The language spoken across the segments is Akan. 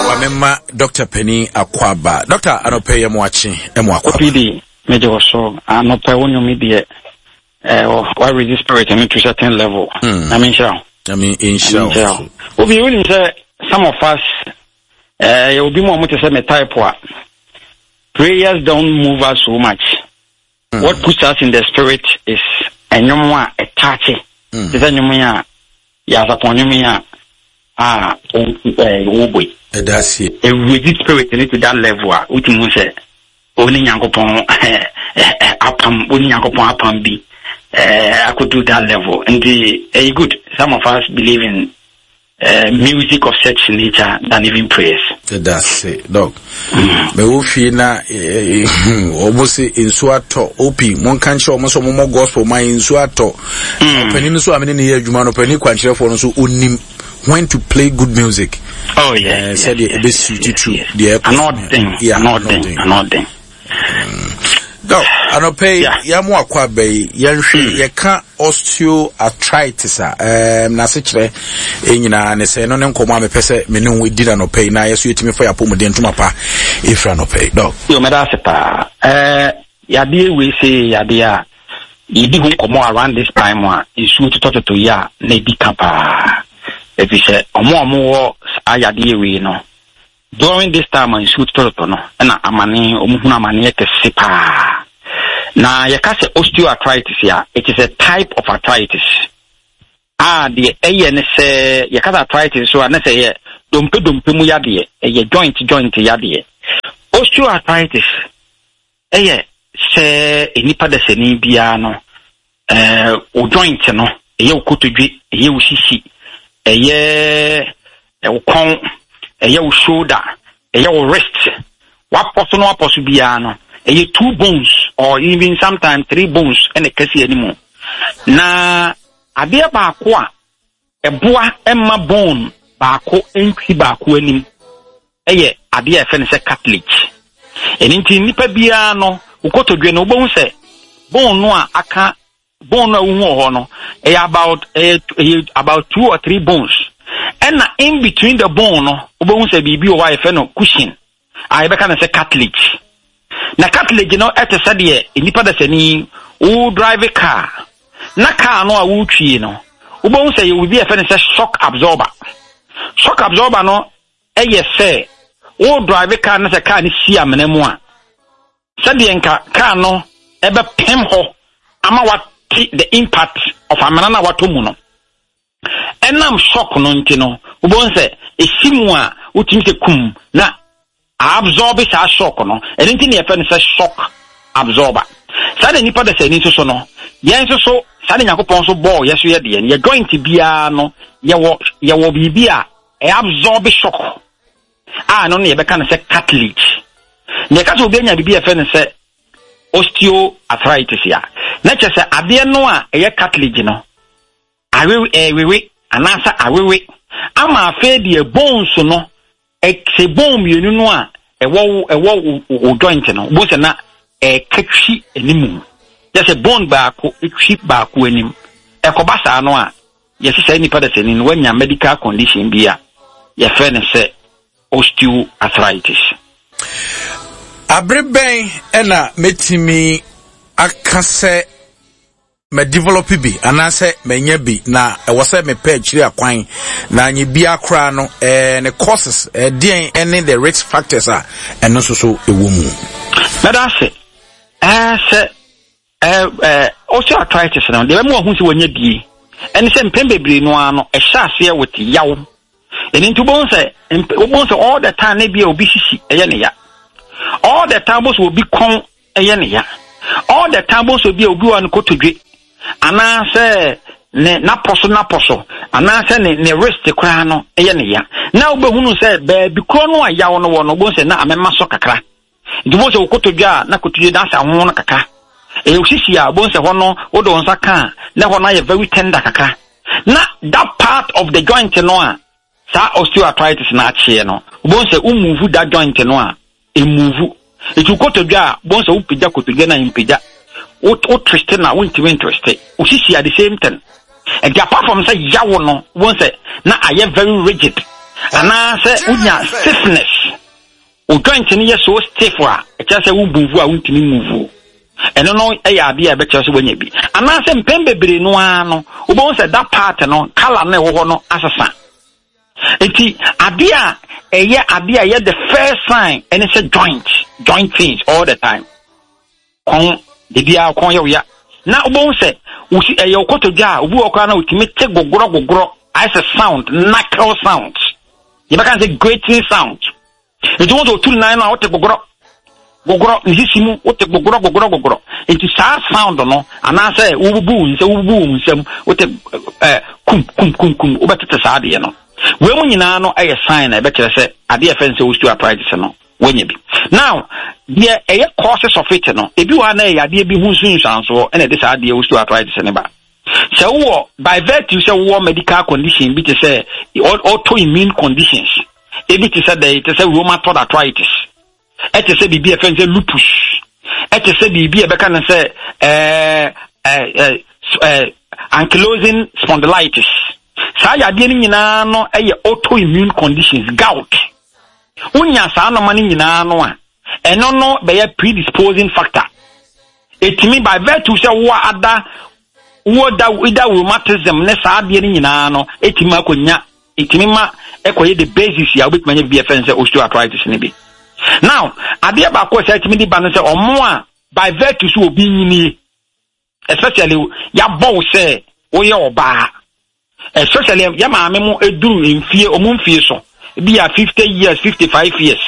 Wamema Dr. Penny Akwaba. Dr. Anɔpɛ yɛ mo akye mo akwaba. OPD, megye wɔ so. Anɔpɛ wo nnwom deɛ eh, wa raise spirit no to certain level. Na me nhyira wo. Na me nhyira wo. Obi wonim sɛ some of us eh, yɛ obi mu a wɔte sɛ me type a prayers don't move us so much. What puts us in the spirit is ɛnwom a ɛtaakye. Te sɛ nnwom yi a yɛasapɔn nnwom yi a a wɔbɔ yi. Ɛda aseɛ. Ɛwuredi spirit no to that level a wotumi hu sɛ wo ne Nyankopɔn apam, wo ne Nyankopɔn apam bi akɔdu that level. Nti ɛyɛ good. Some of us believe in music of such nature than even prayers. Ɛda ase dɔk. Mɛwɔ fie na wɔn se nsuo atɔ opi mo nka nkyerɛ wɔn sɛ wɔn mɔ gospel ma nsuo atɔ. Ɔpanin nso a mene ne yɛ adwuma no ɔpanin kwankyerɛfoɔ no nso onim when to play good music. Oh yeah. Sɛdeɛ ebe suit to deɛ ɛkɔ. Anɔden anɔden anɔden. Dɔk, anɔpɛ yi, yɛn mo akɔ aba yi, yɛnhwɛ hmm. yɛka osteoarthritis a, ɛɛm n'asekyerɛ nyinaa ne sɛ ɛno ne nkɔmɔ a mepɛ sɛ me ne wo di na anɔpɛ yi na yɛso yɛtumi fa yɛ apɔmuden ntoma pa efiri anɔpɛ yi. Dɔk. Yo, mɛda ase paa. Ɛɛ, yadeɛ wei se yadeɛ a yɛdi ho nkɔmɔ around this time a nsuo totɔtotɔ yi a na ɛdi ka paa. Ɛfiri sɛ ɔmo a ɔmo wɔ saa yadeɛ wei no, During this time a nsuo totɔtotɔ no na amane, wɔn hunu amaneɛ kɛse paa. Na yɛka sɛ osteoarthritis a, it is a type of arthritis a deɛ ɛyɛ ne sɛ yɛka sɛ arthritis so a na sɛ ɛyɛ dompe dompe mu yadeɛ, ɛyɛ joint joint yadeɛ. Osteoarthritis Ɛyɛ sɛ nnipa dasani biara no, wo joint no, ɛyɛ wo kotodwe, ɛyɛ wo sisi, ɛyɛ wo kɔn, ɛyɛ wo shoulder, ɛyɛ wo wrist, wapɔ so na wapɔ so biara no, ɛyɛ two bones or even sometimes three bones ɛna ɛkɛse anim. Na adeɛ baako a ɛboa ma bone baako ntwi baako anim yɛ adeɛ a yɛfrɛ no sɛ cartilage. Ɛno nti nnipa biara no, wo kotodwe no, wobɛhu sɛ bone no a aka bone no a wohu wɔ hɔ no, ɛyɛ about ɛyɛ ɛyɛ about two or three bones. Ɛna in between the bone no, wobɛhu sɛ biribi wɔ hɔ a yɛfrɛ no cushion a yɛbɛka no sɛ cartilage. Na cartilage no ɛte sɛ deɛ nnipa dasani wo drive car na car no a wotwie no, wobɛhu sɛ yɛwɔ biribi a yɛfrɛ no sɛ shock absorber. Shock absorber no Ɛyɛ sɛ wo drive car na sɛ car no si amena mu a, sɛdeɛ nka car no ɛbɛpem hɔ ama wate the impact of amena no a watɔ mu no. Ɛnam shock no nti no, wobɛhu sɛ ɛsi mu a wotumi sɛ kum na absorb saa shock no. Ɛno nti na yɛfrɛ no sɛ shock absorber. Saa na nipa dasani nso so no, yɛn nso so saa na Nyankopɔn nso bɔɔ yɛ so yɛ deɛ no, yɛ joint biara no yɛwɔ yɛwɔ biribi a Ɛabsorb shock a ɛno no yɛbɛka no sɛ cartilage. Na yɛka sɛ obi anya biribi a yɛfrɛ no sɛ osteoarthritis a, na kyerɛ sɛ adeɛ no a ɛyɛ cartilage no awewe ɛrewewe anaasɛ awewe ama afei deɛ bones no sɛ bone mmienu no a ɛwɔ wo ɛwɔ wo wo joint no wobɛhu sɛ na ɛka twi anim kyerɛ sɛ bone baako twi baako anim ɛkɔba saa no a Yɛse saa nipa dasani no wanya medical condition bi a yɛfrɛ no sɛ osteoarthritis. Abere bɛn na mɛtumi aka sɛ ma develop bi anaasɛ manya bi na ɛwɔ sɛ mepɛ akyiri akwan na anyɛ biara koraa no ɛɛ ne causes ɛdeɛn ɛne the risk factors a ɛno nso so ɛwɔ mu. Mɛda ase ɛɛ sɛ Ɛɛ, osteoarthritis no, deɛ ɛbɛma wahu sɛ wanya bie ɛne sɛ mpɛn bebree no ara no, ɛhyɛ aseɛ with yaw. Ɛno nti wobɛhu sɛ wobɛhu sɛ all the time na bi a obi sisi ɛyɛ ne ya. All the time wobɛhu sɛ obi kɔn ɛyɛ ne ya. All the time wobɛhu sɛ obi a obi wɔ ne kotodwe anaasɛ ne n'apɔ so n'apɔ so anaasɛ ne ne wrist koraa no ɛyɛ ne ya. Na wobɛhunu sɛ baabi korɔ no a yaw no wɔ no wobɛhu sɛ na amema so kakra. Nti wobɛhu sɛ wo kotodwe a na kotodwe no asɛ ho no kakra. Ɛyɛ wo sisi a wobɛhu sɛ hɔ no wode wo nsa ka a na hɔ no ayɛ very tender kakra. Na that part of the joint no a saa osteoarthritis no akyeɛ no, wobɛhu sɛ wo move that joint no a, ɛmove. Nti wo kotodwe a wobɛhu sɛ wopagya kotodwe no a ɛmpagya. Wo wo twist no a wontumi ntwiste. Wo sisi a the same thing. Nti apart from sɛ yawo no, wobɛhu sɛ na ayɛ very rigid. Anaasɛ wonya stiffness, wo joint no yɛ so stiff a, ɛkyerɛ sɛ wo move a wontumi move. Ɛno no yɛ adeɛ a ɛbɛkyerɛ sɛ woanya bi. Anaasɛ mpɛn bebree no ara no, wobɛhu sɛ that part no, colour no ɛwɔ hɔ no asesa. Nti adeɛ a ɛyɛ adeɛ a ɛyɛ the first sign ɛne sɛ joint, joint pains all the time. Kɔn, da biara kɔn yɛ wo ya. Na wobɛhu sɛ wosi ɛyɛ wo kotodwe a obi wɔ koraa na otumi te gogorɔ gogorɔ ayɛ sɛ sound, knuckle sound. Yɛbɛka sɛ grating sound. Nti wɔn sɛ otu nan no a wote gogorɔ gogorɔ ne sisi mu wote gogorɔ gogorɔ gogorɔ. Nti saa sound no anaasɛ wobubu wo nsa wobubu wo nsam wote ɛɛ kum kum kum kum wobɛtete saa adeɛ no. Wei mu nyinaa no ɛyɛ sign na ɛbɛkyerɛ sɛ adeɛ a ɛfɛ no sɛ osteoarthritis no woanya bi. Now, deɛ ɛyɛ causes of it no, ebi wɔ ha na ɛyɛ adeɛ bi ho nsunsuansoɔ ɛna ɛde saa adeɛ osteoarthritis no ba. Sɛ wowɔ by virtue sɛ wowɔ medical condition bi te sɛ autoimmune conditions, ebi te sɛ dɛ te sɛ rheumatoid arthritis, ɛte sɛ biribi a ɛfɛn sɛ lupus, ɛte sɛ biribi a ɛbɛka no sɛ ɛɛ ɛɛ ɛɛ ankylosing spondylitis. Saa yadeɛ no nyinaa no yɛ autoimmune conditions, gout. Wonya saa nɔma no nyinaa no a, ɛno no bɛyɛ predisposing factor. Ɛtumi by virtue sɛ wo ada wo da ida rheumatism ne saa adeɛ no nyinaa no ɛtumi akɔnya ɛtumi ma ɛkɔyɛ the basis a wobɛtumi anya biribi a ɛfɛ no sɛ osteoarthritis no bi. Now, adeɛ baako a sɛ ɛtumi de ba no sɛ ɔmo a by virtue sɛ obi nyinie especially yɛabɔ wo sɛ woyɛ ɔbaa especially yɛ maame mo eduru mfie ɔmo mfie so ebi yɛ 50 years 55 years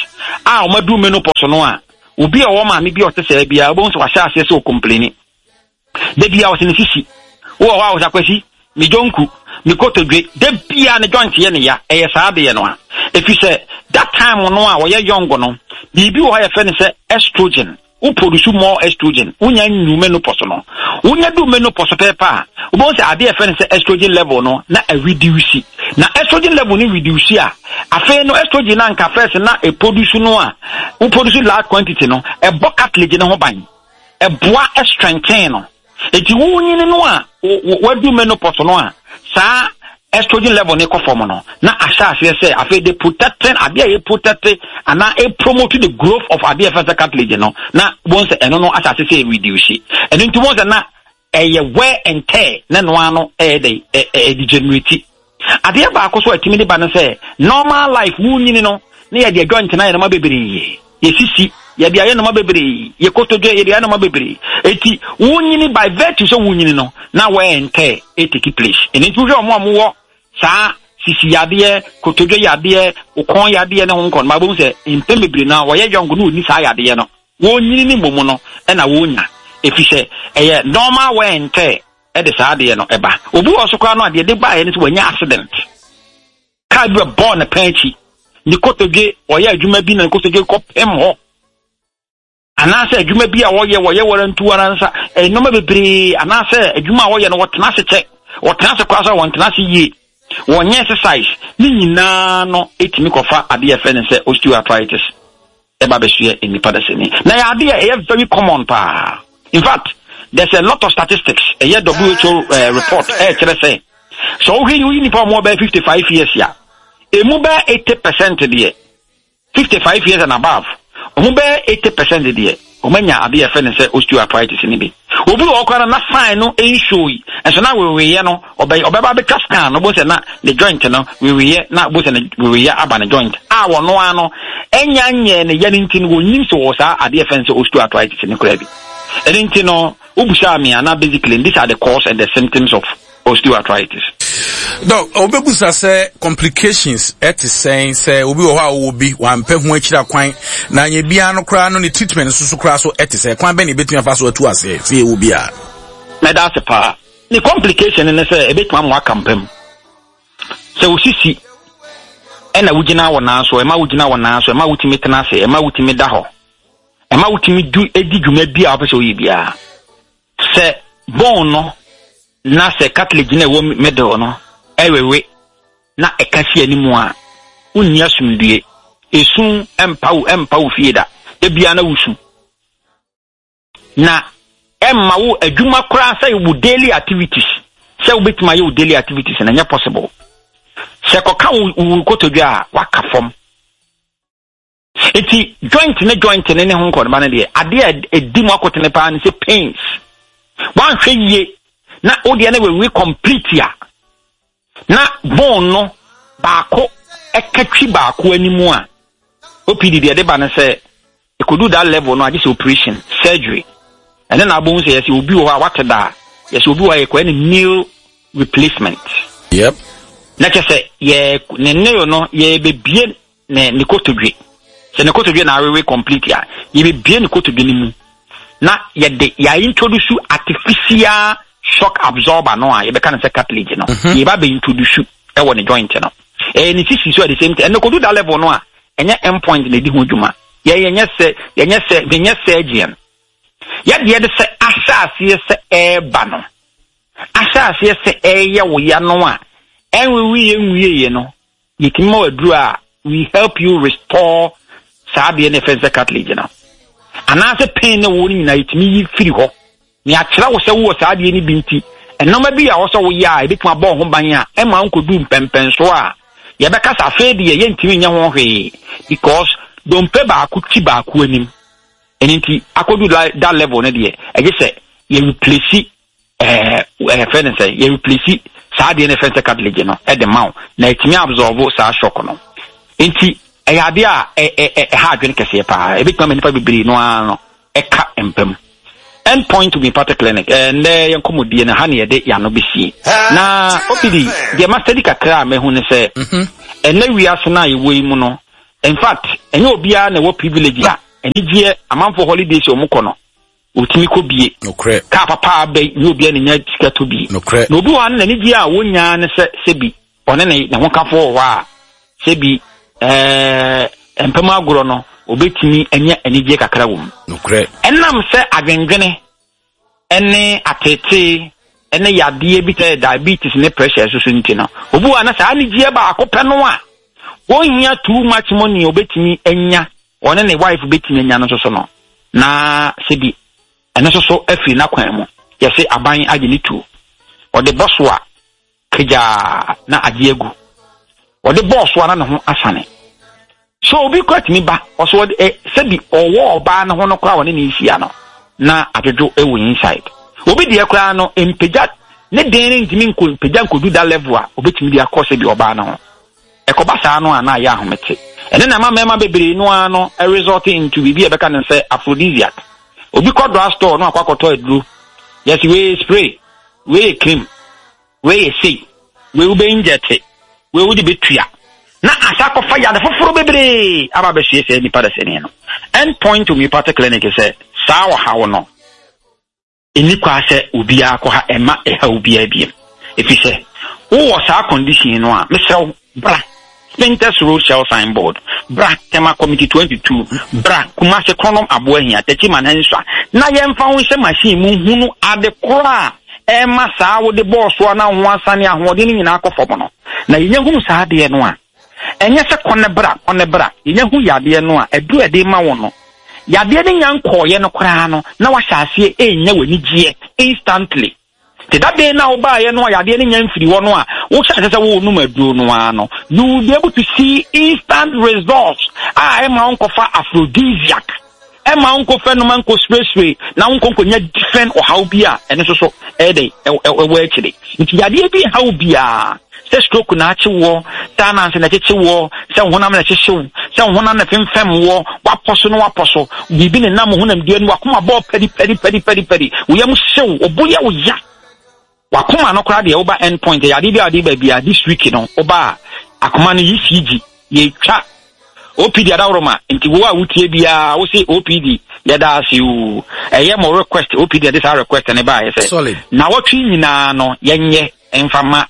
a ɔmo aduru menopause no a obi a ɔwɔ maame bi a ɔte sɛɛ biara wobɛhu sɛ wahyɛ aseɛ sɛ ɔkompleni da bia ɔsɛ ne sisi wowɔ hɔ a ɔsɛ akwasi me dwonku me kotodwe da bia ne joint yɛ ne ya ɛyɛ saa adeɛ no a ɛfiri sɛ that time no a wɔyɛ young no biribi wɔ hɔ a yɛfrɛ no sɛ estrogen Wo produce more estrogen, wonya nnu menopause no. Wonya du menopause pɛɛpɛ a, wobɛhu sɛ adeɛ a yɛfrɛ no sɛ estrogen level no na ɛreduce. Na estrogen level no reduce a, afei no estrogen no anka first na ɛproduce no a, wo produce large quantity no, ɛbɔ cartilage no ho ban. Ɛboa strengthen no. Enti wonyini no a wadu menopause no a, saa estrogen level no kɔ fam no, na ahyɛ aseɛ sɛ afei de protecting adeɛ a yɛ protect anaa e promote the growth of adeɛ a yɛfrɛ sɛ cartilage no, na wɔn sɛ ɛno no ahyɛ ase sɛ reduce. Ɛno nti wɔn sɛ na ɛyɛ wear and tear na ɛno ano ɛyɛ dɛ ɛ degenerate. Adeɛ baako so a ɛtumi de ba no sɛ normal life wonyini no na yɛde adwa ntena yɛ nneɛma bebree yɛsisi yɛde ayɛ nneɛma bebree yɛ kotodwe yɛde ayɛ nneɛma bebree eti wonyini by virtue sɛ wonyini no na wear and tear take place. Ɛno nti wohwɛ wɔn a wɔwɔ saa sisi yadeɛ kotodwe yadeɛ okɔn yadeɛ ne ho nkɔ no ma bɛhu sɛ mpɛn bebree no a wɔyɛ yɔnko na wɔnni saa yadeɛ no wɔnyini ne mmom no ɛna wɔnya ɛfiri sɛ ɛyɛ normal wear and tear de saa adeɛ no ba. Obi wɔ so koraa no a deɛ de baeɛ no sɛ wanya accident. Kaa bi bɛbɔɔ ne pɛn akyi. Ne kotodwe, ɔyɛ adwuma bi na ne kotodwe kɔpem hɔ. Anaasɛ adwuma bi a wɔyɛ wɔyɛ wɔrantu ara nsa, nneɛma bebree anaasɛ adwuma a wɔyɛ no wɔtena ase kyɛ. Wɔtena ase koraa sɛ wɔntena ase yie. Wɔnyɛ exercise. Ne nyinaa no ɛtumi kɔfa adeɛ a yɛfrɛ no sɛ osteoarthritis. ɛba bɛsoɛ nnipa dasani. Na ɛyɛ adeɛ a ɛyɛ very common paa. In fact, there's a lot of statistics, ɛyɛ WHO uh, eh, report ɛrekyerɛ sɛ sɛ wohwɛ yi woyi nnipa a wɔn bɛyɛ 55 years a, emu bɛyɛ 80 percent deɛ 55 years and above, wɔn bɛyɛ 80 percent deɛ wɔn anya adeɛ yɛfrɛ no sɛ osteoarthritis no bi. Obi wɔ hɔ koraa no na sign no nsuo yi, nso na weweeɛ no ɔbɛ ɔbɛba abɛtwa scan no wobɛhu sɛ na ne joint no weweeɛ na wobɛhu sɛ ne weweeɛ aba ne joint a wɔno ara no ɛnya nyɛɛ ne ya no nti no wɔnnim sɛ wɔwɔ saa adeɛ yɛfrɛ no sɛ osteoarthritis no koraa bi. Ɛno nti no wobusaa me a na basically these are the cause and the symptoms of osteoarthritis. Dɔk, wobɛbusa sɛ complications ɛte sɛn sɛ obi wɔ hɔ a ɔwɔ bi wampɛ ho akyiri akwan na anyɛ biara no koraa no ne treatment nso so koraa so ɛte sɛ kwan bɛn na ebɛtumi afa so atu aseɛ sɛ yɛwɔ bi a. Mɛda ase paa. Ne complication ne sɛ ebɛtumi ama waka mpa mu. Sɛ wo sisi ɛna wogyina wɔ nan so, ɛma wogyina wɔ nan so, ɛma wotumi tena ase, ɛma wotumi da hɔ, ɛma wotumi du di dwuma bi a wopɛ sɛ woyɛ biara. Sɛ bone no na sɛ cartilage no a ɛwɔ middle no ɛwewe na ɛka si anim a, wonni asomdue. Esu mpa wo ɛmpa wo fie da. Da biara na wusu. Na ɛmma wo adwuma koraa sɛ wo daily activities sɛ wobɛtumi ayɛ wo daily activities na ɛnyɛ possible. Sɛ kɔka wo wo kotodwe a, waka fam. Eti joint ne joint ne ne ho nkɔnoma no deɛ, adeɛ a ɛdi mu akotene paa ne sɛ pains. Woanhwɛ yie na wo deɛ no wewe complete a, na bone no baako ɛka twi baako anim a, OPD deɛ ɛde ba no sɛ ɛkɔdu that level no agye sɛ operation, surgery. Ɛne na abɔhu sɛ yɛsɛ obi wɔ hɔ a wate da a, yɛsɛ obi wɔ hɔ a yɛkɔyɛ no nail replacement. Yep. Na kyɛ sɛ yɛ ne nail no yɛbɛbie ne ne kotodwe. Sɛ ne kotodwe na awewe complete a, yɛbɛbie ne kotodwe no mu na yɛde yɛ introduce artificial shock absorber no a yɛbɛka no sɛ cartilage no. Mhm. Yɛba bɛ introduce ɛwɔ ne joint no. Ɛyɛ ne sisi so at the same time. Ɛno kodu that level no a, ɛnyɛ end point na ɛdi ho dwuma. Yɛ yɛnyɛ sɛ yɛnyɛ sɛ yɛnyɛ surgeon. Yɛdeɛ de sɛ ahyɛ aseɛ sɛ ɛreba no, ahyɛ aseɛ sɛ ɛreyɛ wo ya no a, ɛnweweeɛ nwieeɛ no, Yɛtumi ma wo aduro a we help you restore saa adeɛ no ɛfɛn sɛ cartilage no. Anaasɛ pain ne wo no nyinaa yɛtumi yi firi hɔ. Na yɛakyerɛ wo sɛ wowɔ saa adeɛ no bi nti, nneɛma bi a ɛwɔ sɛ woyɛ a ɛbɛtumi abɔ wo ho ban a ɛma wonkɔdu mpɛmpɛnsoɔ a yɛbɛka sɛ afei deɛ yɛntumi nyɛ ho hwee because dompe baako ti baako anim. Ɛno nti akɔdu that level no deɛ ɛgye sɛ yɛ replace ɛɛ ɛfɛ ne sɛ yɛ replace saa adeɛ no ɛfɛ sɛ cartilage no ɛde ma wo na ɛtumi absorb saa shock no nti ɛyɛ adeɛ a ɛha adwene kɛseɛ paa ɛbɛtumi ama nipa bebree no ara no ɛka mpam. End Point Homeopathic Clinic ɛndɛ yɛn nkɔmmɔdie no ha ne yɛde yɛn ano bɛsie na opd deɛ ma study kakra a mahu ne sɛ mhm. ɛnɛ wiase no a yɛwɔ yi mu no in fact ɛnyɛ obiara na ɛwɔ privilege a anigyeɛ amanfoɔ holidays a wɔkɔ no Otumi kɔ bie. Nokorɛ. Kaa papa a aba yi, nyɛ obiara na nya sika tɔ bi. Nokorɛ. Na obi wɔ hɔ a ne n'anigyeɛ a wɔnya ne sɛ sɛbi ɔne ne ne hokafoɔ wɔ hɔ a, sɛbi ɛɛ mpam agorɔ no, ɔbɛtumi anya anigyeɛ kakra wɔ mu. Nokorɛ. Ɛnam sɛ adwendwene ne ateetee ne yadeɛ bi sɛ diabetes ne pressure so so nti no, obi wɔ hɔ a na saa anigyeɛ baako pɛ no a ɔnhia too much money a ɔbɛtumi anya ɔne ne wife bɛtumi anya no nso so no, na sɛbi ɛno nso so afiri n'akwan mu. Yɛse aban agye ne tuo. Ɔde bɔ so a, kagyaa na agye agu. Ɔde bɔɔ so a na ne ho asane. So obi kora tumi ba, ɔso ɔde ɛ sɛbi ɔwɔ ɔbaa no ho no koraa ɔne ne nhyia no, na adwodwo wɔ inside. Obi deɛ koraa no, mpagya ne den no ntumi nko mpagya nkɔdu da level a obɛtumi de akɔ sɛbi ɔbaa no ho. Ɛkɔba saa no a, na ayɛ ahomete. Ɛno na ɛma mmarima bebree no ara no resort into biribi a yɛbɛka no sɛ aphrodisiac. Obi kɔ drug store na wakɔ akɔtɔ aduro. Yɛse wei yɛ spray, wei yɛ cream, wei yɛ sei, wei wobɛ inject, wei wode bɛtua. Na asa akɔfa yade foforɔ bebree aba abɛsoɛ saa nipa dasani no. End Point Homeopathic Clinic sɛ saa ɔhaw no, Enni kwa sɛ obiara kɔ ha ɛmma ɛhaw obiara biom. Efisɛ wowɔ saa condition no a, mesrɛ wo bra Spintex Road Shell Sign Board, bra Tema Committee 22, bra Kumasi Kronom Aboahia, Techiman Hansua, na yɛmfa wo nhyɛ machine mu nhunu ade korɔ a ɛma saa wode bɔɔ soɔ na wo ho asane ahoɔden no nyinaa kɔ fam no. Na yɛnya hunu saa adeɛ no a, Ɛnyɛ sɛ kɔ ne bra, kɔ ne bra. Yɛnya hu yadeɛ no a, aduro a yɛde rema wo no, yadeɛ no nya nkɔɔeɛ no koraa no, na wahyɛ aseɛ renya w'anigyeɛ instantly. Nti that day no a wobaeɛ no a yadeɛ no nya mfiri hɔ no a, wohyɛ aseɛ sɛ worenom aduro no ara no, you will be able to see instant results a ɛmma wonkɔfa aphrodisiac. Ɛmma wo nkɔfa nnoma nkɔsuresure na wo nkɔnkɔnya different ɔhaw bi a ɛno nso so ɛyɛ dɛn ɛwɔ akyire. Nti yadeɛ bi haw biara, sɛ stroke na akye woɔ, sɛ ananse na ɛkyekye woɔ, sɛ wo honam na ɛhyehye wo, sɛ wo honam na ɛfemfɛm woɔ, wapɔ so na wapɔ so, biribi nenam wo honamdua no mu, wakoma bɔɔ pɛdi pɛdi pɛdi pɛdi pɛdi, wo yam hye wo, wo bo yɛ wo ya. Wakoma no koraa deɛ woba end point ɛyɛ adeɛ bi a wɔde ba biara this week no woba a akoma no ECG yɛtwa OPD adaworoma nti wo a wotie biara wo se OPD yɛda ase oo ɛyɛ mo request OPD ɛde saa request no baeɛ sɛ nawɔtwe nyinaa no yɛnyɛ mfa ma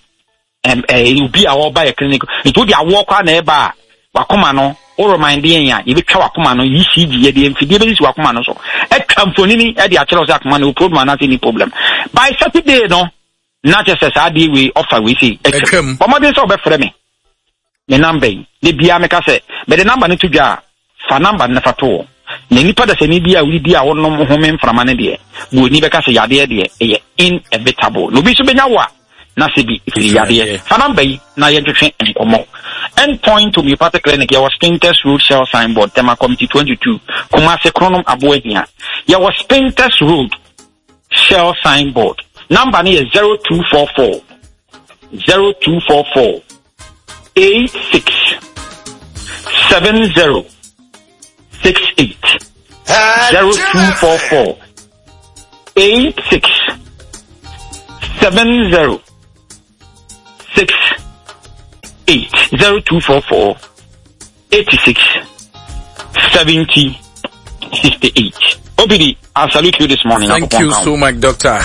obi a ɔba yɛ clinic nti wode awoɔ koraa na ɛba a wakoma no wo remind yɛn a yɛbɛtwa wakoma no ECG yɛde mfidie bɛsisi wakoma no so atwa mfonini de akyerɛ wo sɛ akoma no wɔ problem anaasɛ ni problem by Saturday no na kyerɛ sɛ saa adeɛ wei ɔfa wei sei atwam. Bɔ mmɔden sɛ wobɛfrɛ me me number yi. Da biara meka sɛ mede number no to dwa a, fa number no na fa to hɔ. Na nipa dasani bi a wodidi a wonom home mframa no deɛ, buroni bɛka sɛ yadeɛ deɛ ɛyɛ inevitable. Na obi nso bɛnya wo a, na sɛ bi firi yadeɛ. Fa number yi na yɛntwetwe nkɔmmɔ. End Point Homeopathic Clinic, yɛwɔ Spintex Road Shell Signboard, Tema Committee 22, Kumasi, Kronom, Aboahia. Yɛwɔ Spintex Road Shell Signboard. Number no yɛ 0244 0244 86 70 68 0244 86 70 6 8 0244 86 70 68. Obidi, I salute you this morning. Thank you so much, Doctor.